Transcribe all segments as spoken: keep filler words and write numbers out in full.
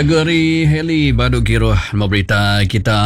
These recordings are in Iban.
Lagu ari Hailey badu kiruh nama berita kita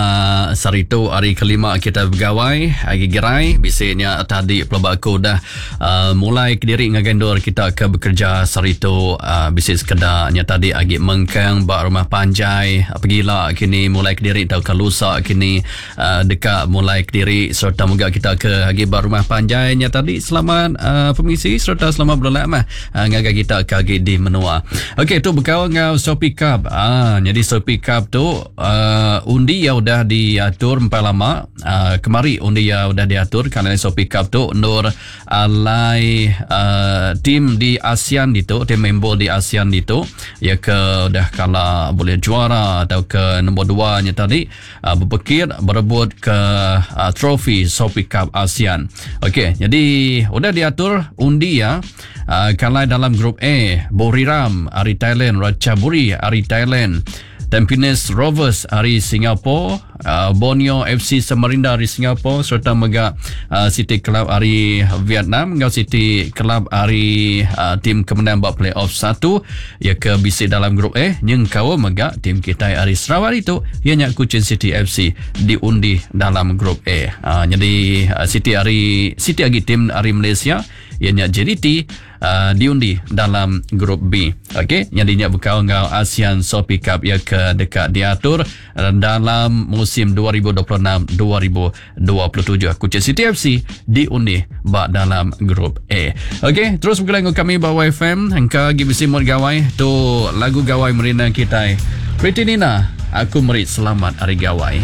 saritu hari kelima kita begawai agi gerai bisi nya tadi pelaba aku udah uh, mulai kediri ngagai endur kita ke bekerja saritu uh, bisi sekeda nya tadi agi mengkang ba rumah panjai pegila kini mulai kediri tau ke lusa kini uh, deka mulai kediri serta mega kita ke agi ba rumah panjai nya tadi selamat uh, permisi serta selamat berlelak mah uh, ngagai kita ke agi di menua. Okey, tu bekau ngau Shopee Cup. Ah, jadi Shopee Cup tu uh, undi ya udah diatur empat lama. Uh, kemari undi ya udah diatur kerana Shopee Cup tu nur alai uh, tim di ASEAN itu, tim member di ASEAN itu ya ke udah kala boleh juara atau ke nombor dua nya tadi uh, berpekir berebut ke uh, trofi Shopee Cup ASEAN. Okey, jadi udah diatur undi ya. Uh, kalau dalam grup A, Buriram ari Thailand, Ratchaburi ari Thailand, Tampines Rovers ari Singapore, uh, Borneo F C Samarinda ari Singapore serta mega uh, City Club ari Vietnam ngau City Club ari uh, tim kemenang bab playoff satu ya ke bisi dalam grup A nyengkau mega tim kita ari Sarawak itu ianya Kuching City F C diundi dalam grup A. Uh, jadi uh, City ari City agi tim ari Malaysia ianya J D T uh, diundi dalam grup B. Okey, jadinya bekau ngau ASEAN Shopee Cup ya ke dekat diatur dalam musim dua ribu dua puluh enam dua ribu dua puluh tujuh. Kuching City F C diundi ba dalam grup A. Okey, terus bergelang kami ba Y F M engka gi bisi mod gawai tu lagu gawai merina kita. Pretty Nina, aku meri selamat hari gawai.